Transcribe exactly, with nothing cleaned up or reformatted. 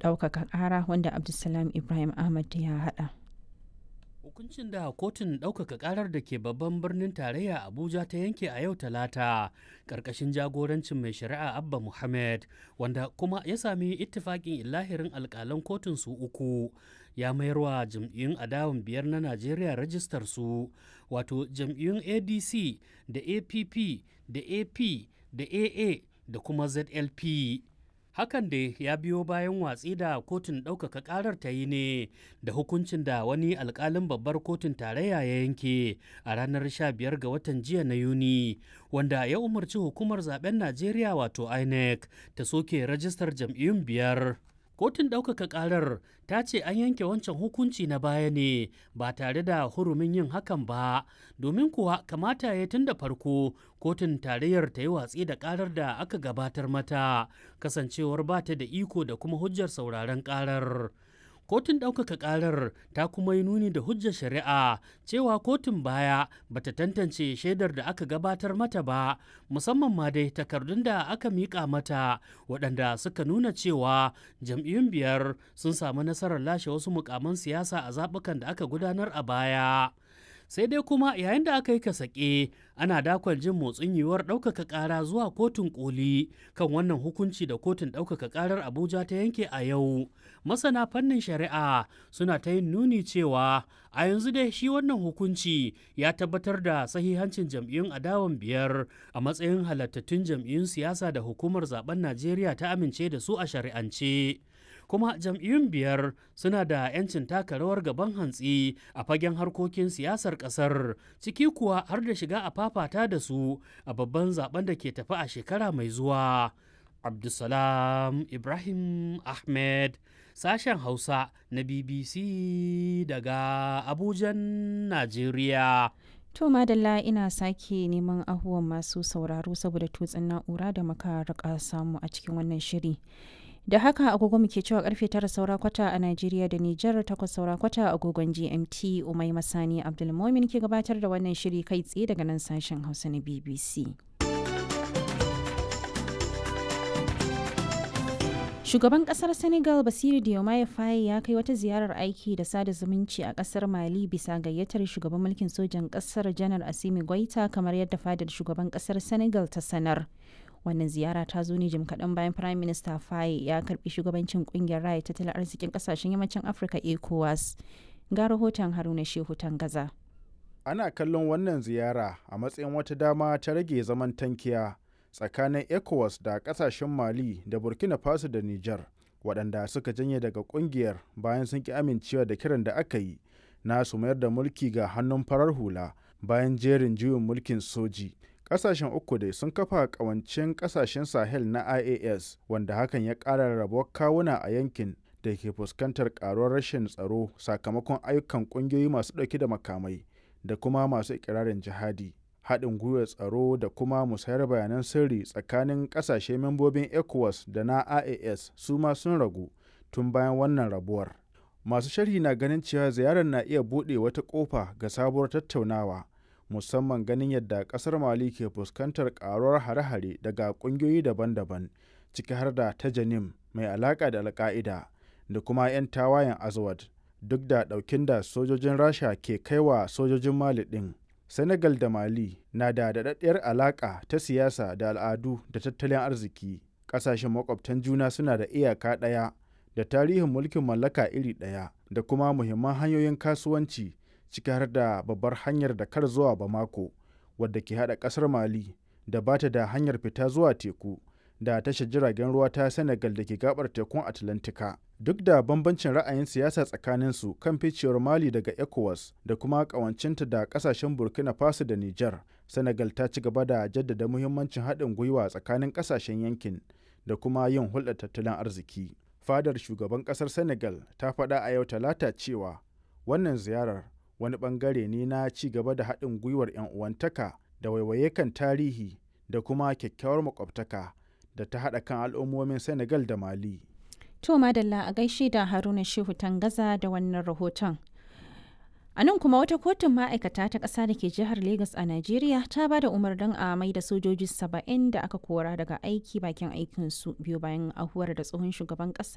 Ɗaukaka Ƙara wanda Abdulsalam Ibrahim Ahmad ya haɗa. Hukuncin da kotun ɗaukaka ƙarar da ke babban birnin tarayya Abuja ta yanke a yau Talata, ƙarƙashin jagorancin mai shari'a Abba Muhammad, wanda kuma ya sami ittifaƙin illahirin alƙalan kotun su uku, ya mayarwa jam'iyyun adawan biyar na Najeriya rajistar su, wato jam'iyyun A D C da A P P da A P da A A da kuma Z L P. Hakan dai ya biyo bayan watsi da kotun ɗaukaka ƙarar ta yi ne da hukuncin da wani alƙalin babbar kotun tarayya ya yanke a ranar sha biyar ga watan jiya na Yuni, wanda ya umarci hukumar zaben Najeriya wato INEC ta soke rajistar jam'iyyun biyar. Kotun ɗaukaka ƙarar ta ce an yanke wancan hukunci na baya ne ba tare da hurumin yin hakan ba, domin kuwa kamata ya tun da farko kotun tarayyar ta yi watsi da ƙarar da aka gabatar mata, kasancewar ba ta da iko da kuma hujjar sauraron ƙarar. Kotun ɗaukaka ƙarar ta kuma yi nuni da hujjar shari'a cewa kotun baya bata tantance shaidar da aka gabatar mata ba, musamman ma dai takardun da aka miƙa mata waɗanda suka nuna cewa jam'iyyun biyar sun samu nasarar lashe wasu mukaman siyasa a zaɓukan da aka gudanar a baya. Sai dai kuma yayin da aka yi kasake ana dakon jin motsin yiwuwar ɗaukaka ƙara zuwa kotun koli kan wannan hukunci da kotun ɗaukaka ƙarar Abuja ta yanke a yau, masana fannin shari'a suna ta yin nuni cewa a yanzu dai shi wannan hukunci ya tabbatar da sahihancin jam'iyyun adawan biyar a matsayin halattattun jam'iyyun siyasa da hukumar zaben Najeriya ta amince da su a shari'ance, kuma jam'iyyun biyar suna da 'yancin taka rawar gaban hantsi a fagen harkokin siyasar kasar, ciki kuwa har da shiga a fafata da su a babban zaben da ke tafi a shekara mai zuwa. Abdulsalam Ibrahim Ahmed, sashen Hausa na B B C daga Abujan, Najeriya. To madalla, ina sake neman ahuwan masu sauraro saboda tutsin na'ura da muka rika samu a cikin wannan shiri. Da haka agogo muke cewa karfe tara saura kwata a Najeriya da Nijar, takwas saura kwata agogon G M T. Umai Masani Abdulmomin ke gabatar da wannan shiri kai tsaye daga nan sashen Hausa na B B C. Shugaban kasar Senegal Basiru Diomaye Faye ya kai wata ziyarar aiki da sada zumunci a kasar Mali bisa gayyatar shugaban mulkin sojan kasar Janar Asimi Goita, kamar yadda fadar shugaban kasar Senegal ta sanar. Wannan ziyara ta zo ne jim kaɗan bayan Prime Minister Faye ya karbi shugabancin kungiyar raya tattalin arzikin kasashen yammacin Afirka ECOWAS. Ga rahoton Haruna Shehu Tangaza. Ana kallon wannan ziyara a matsayin wata dama ta rage zaman tankiya tsakanin ECOWAS da kasashen Mali da Burkina Faso da Niger, waɗanda suka janye daga ƙungiyar bayan sun ki amincewa da kiran da aka yi na su mayar da mulki ga hannun farar hula bayan jerin juyin mulkin soji. Kasashen uku dai sun kafa kawancin kasashen Sahel na I A S, wanda hakan ya ƙara rabuwar kawuna a yankin da ke fuskantar karuwar rashin tsaro sakamakon ayyukan ƙungiyoyi masu ɗauke da makamai da kuma masu ikirarin jihadi. Haɗin gwiwar tsaro da kuma musayar bayanan sirri tsakanin ƙasashe membobin ECOWAS da na I A S su ma sun ragu tun bayan wannan rabuwar. Masu sharhi na ganin cewa ziyarar na iya buɗe wata ƙofa ga sabuwar tattaunawa, musamman ganin yadda kasar Mali ke fuskantar karuwar hare-hare daga kungiyoyi daban-daban, ciki har da ta Janim mai alaka da Alka'ida da kuma 'yan tawayen Azawad, duk da daukin da sojojin Rasha ke kaiwa sojojin Mali din. Senegal da Mali na da daɗaɗɗiyar alaka ta siyasa da al'adu da tattalin arziki. Ƙasashen makwabtan juna suna da iyaka ɗaya da tarihin mulkin mallaka iri ɗaya da kuma muhimman hanyoyin kasuwanci, ciki har da babbar hanyar Dakar zuwa Bamako, wadda ke hada kasar Mali da bata da hanyar fita zuwa teku da tashar jiragen ruwa ta Senegal da ke gabar tekun Atlantika. Duk da bambancin ra'ayin siyasa tsakanin su kan ficewar Mali daga ECOWAS da kuma kawancinta da kasashen Burkina Faso da Niger, Senegal ta ci gaba da jaddada muhimmancin haɗin gwiwa tsakanin kasashen yankin da kuma yin hulɗar tattalin arziki. Fadar shugaban ƙasar Senegal ta faɗa a yau Talata cewa wannan ziyarar wani bangare ne na ci gaba da haɗin gwiwar 'yan uwantaka da waiwaye kan tarihi da kuma kyakkyawar makwabtaka da ta haɗa kan al'ummomin Senegal da Mali. To madalla, a gaishe da Haruna Shehu Tangaza da wannan rahoton. A nan kuma wata kotun ma'aikata ta ƙasa da ke jihar Legas a Najeriya ta ba da umarnin a mai da sojoji saba'in da aka kora daga aiki bakin aikinsu biyu bayan ahuwar da tsohon shugaban ƙasa